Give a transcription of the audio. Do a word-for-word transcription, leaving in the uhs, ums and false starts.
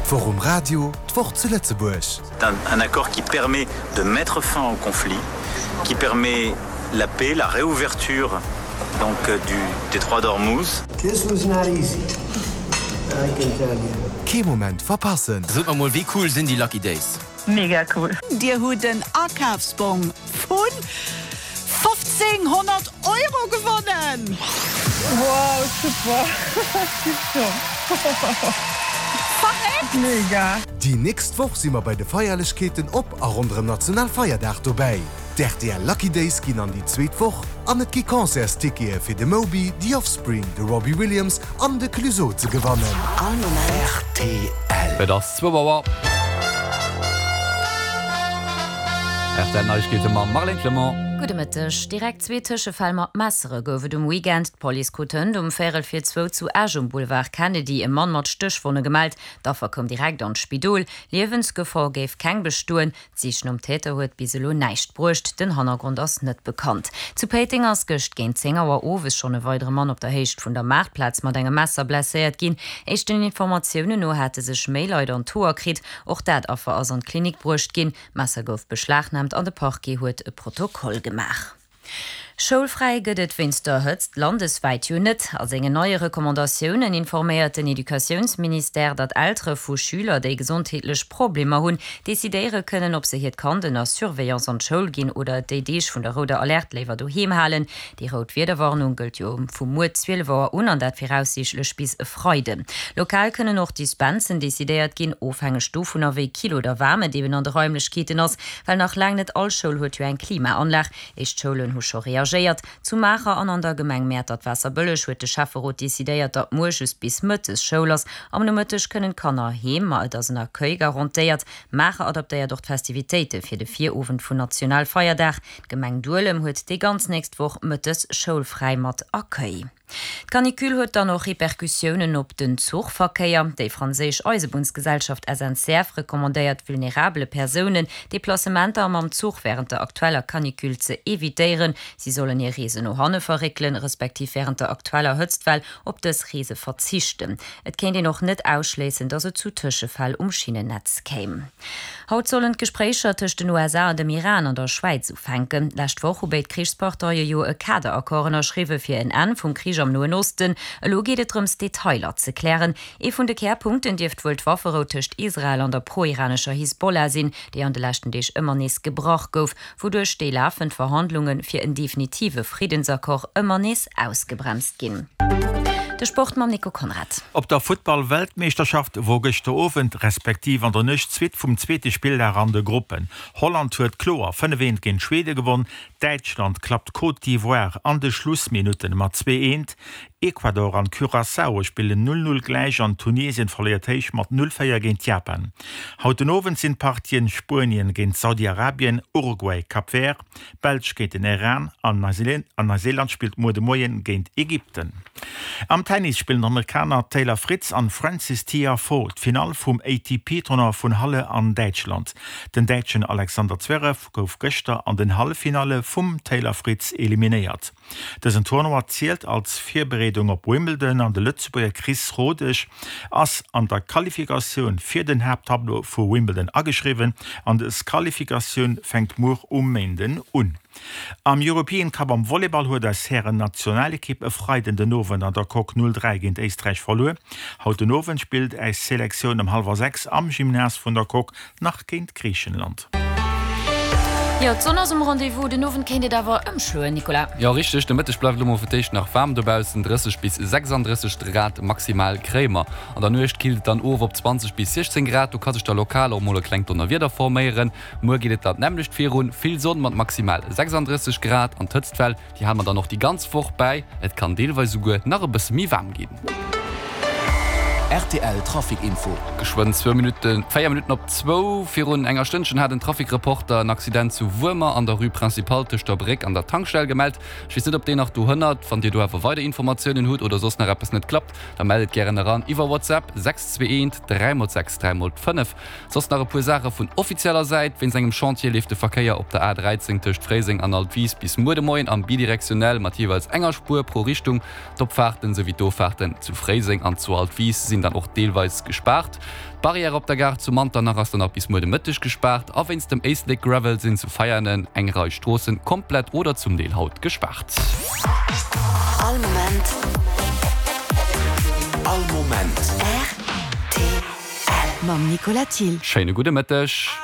D'Woch um Radio, d'Woch zu Lëtzebuerg. C'est un, un accord qui permet de mettre fin au conflit, qui permet la paix, la réouverture donc, euh, du détroit d'Ormuz. This was not easy, I can tell you. Kee Moment verpassen. Sot mer mol, wéi cool sinn déi Lucky Days? Mega cool. Dir hutt den Akafsbong vun fofzénghonnert Euro gewonnen! Wow, super. Tipptopp. Verréckt! Mega. Déi nächst Woch si mer bei de Feierlechkeeten op a ronderëm Nationalfeierdag dobäi. D'R T L Lucky Days ginn an déi zweet Woch an et gi Concertstickete fir de Moby, The Offspring, de Robbie Williams an de Clueso ze gewannen. All Moment. R T L. Et ass zwou Auer. R T L Neiegkeete mam Marlène Clement. Gudde Mëtteg. Direkt zwee Tëschefäll mat Messere gouf et um Weekend. D'Police krut hënt um véierel vir zwou zu Esch um Boulevard Kennedy e Mann mat Stéchwonne gemellt. D'Affer koum direkt an d'Spidol. Liewensgefor géif keng bestoen. D'Sich nom Täter huet bis elo näischt bruecht. Den Hannergrond ass net bekannt. Zu Péiteng ass gëscht géint zéng Auer owes schonn e weidere Mann op der Héicht vun der Maartplaz mat engem Messer blesséiert ginn. Éischten Informatiounen no hate sech méi Leit an d'Hoer kritt. Och dat Affer ass an d'Klinik bruecht ginn. D'Messer gouf beschlagnaamt an de Parquet huet e Protokoll gemaach. Schoulfräi gëtt et wéinst der Hëtzt landeswäit jo net. A sengen neie Recommandatiounen informéiert den Educatiounsministère, datt Eltere vu Schüler, déi gesondheetlech Problemer hunn, decidéiere kënnen, ob se hiert Kand ënner Surveillance an d'Schoul ginn oder et déi Deeg vun der rouder Alerte léiwer doheem halen. Déi rout Wiederwarnung gëllt jo vu muer zwielef Auer un an dat viraussiichtlech bis e Freiden. Lokal kënnen och Dispensen decidéiert ginn, ofhängeg dovunner, wéi kill oder waarm et eben an de Raimlechkeeten ass, well nach laang net all Schoul huet jo eng Klimaanlag. Éischt Schoulen hu scho reagéiert. Zu Maacher an an der Gemeng Mäertert-Waasserbëlleg huet de Schäfferot decidéiert, datt muer just bis mëttes Schoul ass. Am Nomëtteg kënnen d'Kanner heem, ma et ass en Accueil garantéiert. Maacher adaptéiert och d'Festivitéite fir de Virowend vun Nationalfeierdag. D'Gemeng Duelem huet déi ganz nächst Woch mëttes schoulfräi mat Accueil. D'Canicule huet dann och Repercussiounen op den Zuchverkéier. Déi franséisch Eisebunnsgesellschaft S N C F recommandéiert vulnerabele Persounen, Deplacementer mam Zuch wärend der aktueller Canicule ze evitéieren. Si sollen hir Reesen no hanne verréckelen, respektiv wärend der aktueller Hëtztwell op dës Reese verzichten. Et kéint een och net ausschléissen, datt et zu Tëschefäll um Schinnennetz kéim. Haut sollen d'Gespréicher tëscht den U S A an dem Iran an der Schwäiz ufänken. Lescht Woch hu béid Krichsparteie jo e Kaderaccord ënnerschriwwe fir en Enn vum Krich am Noen Osten. Elo geet et drëms, Detailer ze klären. Ee vun de Kärpunkten dierft wuel d'Wafferou tëscht Israel an der pro-iranescher Hisbollah sinn, déi an de leschten Deeg ëmmer nees gebrach gouf, wouduerch déi lafend Verhandlunge fir en definitive Friddensaccord ëmmer nees ausgebremst ginn. De Sport mam Nico Conrad. Op der Futtball-Weltmeeschterschaft wor gëschter Owend respektiv an der Nuecht d'Suite vum zweete Spilldag an de Gruppen. Holland huet kloer fënnef eent géint Schwede gewonn, Däitschland klappt Côte d'Ivoire an de Schlussminutten mat zwee eent, Ecuador an Curaçao spillen null null gläich an Tunesien verléiert héich mat null véier géint Japan. Haut den Owend sinn d'Partien Spuenien géint Saudi-Arabien, Uruguay, Cap Vert, Belsch géint den Iran an Neuseeland spillt muer de Moien géint Ägypten. Am Tennis spillen d'Amerikaner Taylor Fritz an Frances Tiafoe d'Finall vum A T P-Tournoi vun Halle an Däitschland. Den Däitschen Alexander Zverev gouf gëschter an den Halleffinalle vum Taylor Fritz eliminéiert. Dësen Tournoi zielt als Virbereedung op Wimbledon an de Lëtzebuerger Chris Rodesch ass an der Qualifikatioun fir den Haapttableau vu Wimbledon ageschriwwen an dës Qualifikatioun fänkt muer um Méinden un. Am European Cup am Volleyball huet eis Hären-Nationalekipp e Freiden den Owend an der Coque null dräi géint Éisträich verluer. Haut den Owend spillt eis Selektioun ëm hallwer sechs am Gymnase vun der Coque nach géint Griichenland. Jo, d'Sonn ass um Rendez-vous. Den Owend kéint et awer ëmschloen, Nicolas. Jo, richteg, de Mëtteg bleift elo mol fir d'éischt nach waarm dobaussen, drësseg bis sechsanddrësseg Grad maximal kréie mer. An der Nuecht killt et dann of op zwanzeg bis siechzéng Grad, do ka sech da lokal och mol e klengt Donnerwieder forméieren. Muer geet et dat nämmlecht virun, vill Sonn mat maximal sechsanddrësseg Grad an d'Hëtztwell, déi hale mer dann och déi ganz Woch bäi. Et kann deelweis esouguer nach e bësse méi waarm ginn. R T L Trafic Info. Geschwënn zwou Minutten, véier Minutten op zwou. Virun enger Stënnchen hat en Trafic-Reporter en Accident zu Wuermer an der Rue Principale tëscht der Bréck an der Tankstell gemellt. Ech weess net, ob deen nach dohënnert. Wann Dir do awer weider Informatiounen hutt oder soss nach eppes net klappt, da mellt et gären eran iwwer WhatsApp sechs zwee eent dräi mol sechs dräi mol fënnef. Soss nach e puer Saache vun offizieller Säit, Wéinst engem Chantier leeft de Verkéier op der A dräizéng tëscht Fréiseng an Altwis bis muer de Moien am bidirektionell mat jeeweils enger Spuer pro Richtung. D'Opfaarten souwéi d'Offaarten zu Fréiseng an zu Altwis sinn dann och deelweis gespaart. D'Barrière op der Gare zu Manternach ass dann nach bis muer de Mëtteg gespaart a wéinst dem Éislek Gravel sinn zu Veianen eng Rei Stroossen komplett oder zum Deel haut gespaart. All Moment. All Moment. Rtl. Mam Nicolas Thill. Schéine gudde Mëtteg.